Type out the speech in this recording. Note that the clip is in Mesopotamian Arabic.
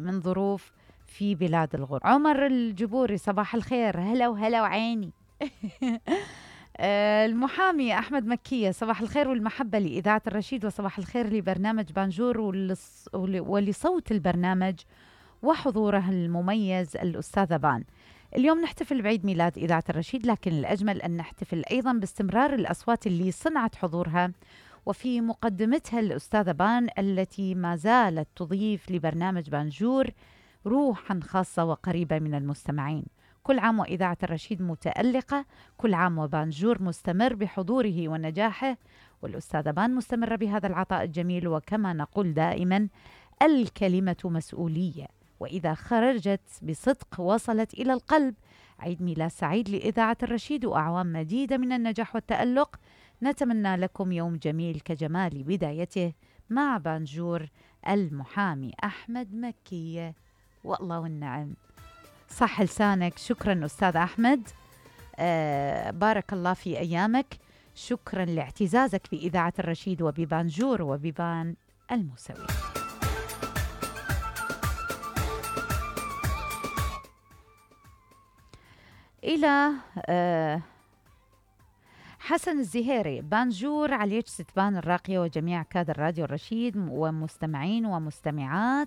من ظروف في بلاد الغرب. عمر الجبوري صباح الخير، هلا وهلا وعيني. المحامي أحمد مكية صباح الخير والمحبة لإذاعة الرشيد، وصباح الخير لبرنامج بانجور ولصوت البرنامج وحضوره المميز الأستاذة بان. اليوم نحتفل بعيد ميلاد إذاعة الرشيد، لكن الأجمل أن نحتفل أيضا باستمرار الأصوات اللي صنعت حضورها، وفي مقدمتها الأستاذة بان التي ما زالت تضيف لبرنامج بانجور روحا خاصة وقريبة من المستمعين. كل عام وإذاعة الرشيد متألقة، كل عام وبانجور مستمر بحضوره ونجاحه، والأستاذة بان مستمرة بهذا العطاء الجميل. وكما نقول دائما، الكلمة مسؤولية، وإذا خرجت بصدق وصلت إلى القلب. عيد ميلاد سعيد لإذاعة الرشيد وأعوام مديدة من النجاح والتألق. نتمنى لكم يوم جميل كجمال بدايته مع بانجور المحامي أحمد مكية. والله والنعم، صح لسانك. شكرا أستاذ أحمد، بارك الله في أيامك. شكرا لاعتزازك بإذاعة الرشيد وببانجور وببان الموسوي. إلى حسن الزهيري، بانجور عليك ستبان الراقية وجميع كادر راديو الرشيد ومستمعين ومستمعات